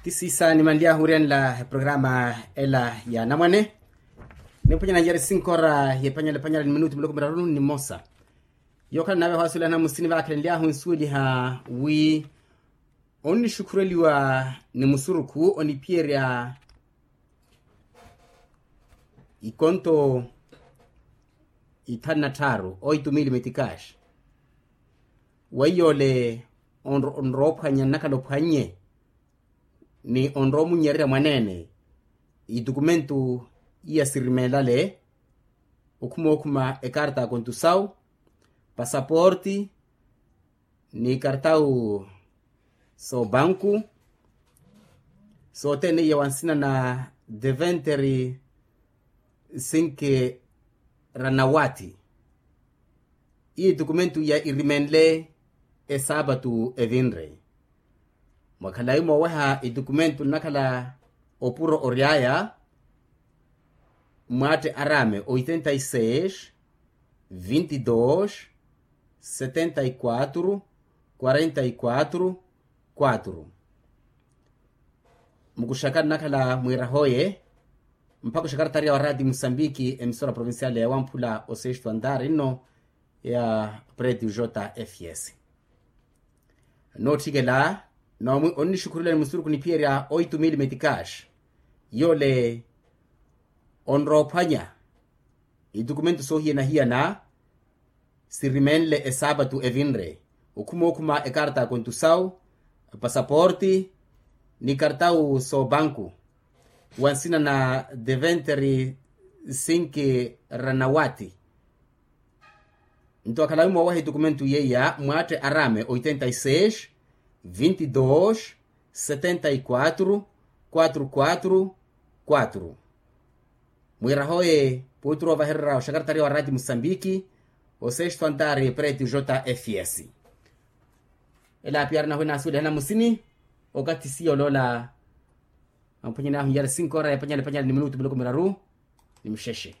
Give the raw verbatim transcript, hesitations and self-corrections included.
Ti siisa nimanly'ahu wiriyanela eprograma ela ya anamwane. Niphwanya nanjari sinkora y'ephwanyala ephwanyala ni minutu miloko miraru ni mmosa. Yookhala nave ohwasuwelihana musini vaakhalenly'ahu nsuweliha wi onnixukhureliwa ni musurukhu oniphiyerya ikonto ithanu na tthaaru oitumili metikaxi. Weiyoole onroophwanya nnakhala ophwannye ni onroomunnyererya mwaneene itukumentu iya sirimeelale okhuma okhuma ekarta ya kontusawu, pasaporti ni kartawu soobanku sothene iya wansina na deventeri sinki ranawati. Iyo itukumentu iya irimenle esaapatu evinre. Mwakhalayi mooweha itukumentu nnakhala opuro ory'aya mwaatte araame oitenta y seis, vinti dos, setenta y quatro, quarenta y quatro, quatro. Mukuxaka nnakhala mwiirahoye mpakha oxakartariya wa rati musambiki emisora provincial ya wamphula o sexto andar nno ya preti ujota fs. Nootthikela noomwi onnixukhurela ni musuruku niphiyerya oitumili metikaxi. Yoole onroophwanya itukumentu soohiyana-hiyana sirimenle esaapatu evinre okhuma okhuma ekarta ya kontusawu, pasaporti ni kartawu soobanku wansina na deventeri sinki ranawati. Nto akhalawi mooweha itukumentu yeiya mwaatte araame oitenta y seis, vinti dos, setenta y quatro, quatro quatro quatro. Mwiirahoye puuturo ovahererya oxakartariya wa rati musambiki o sexto andar preti ujota fs. Ela apiyaari nahwe naasuwelihana musini okathi siya oloola. Amphwanyani ahu nyari sinkora ya panyala panyala ni minutu miloko miraru ni muxexe.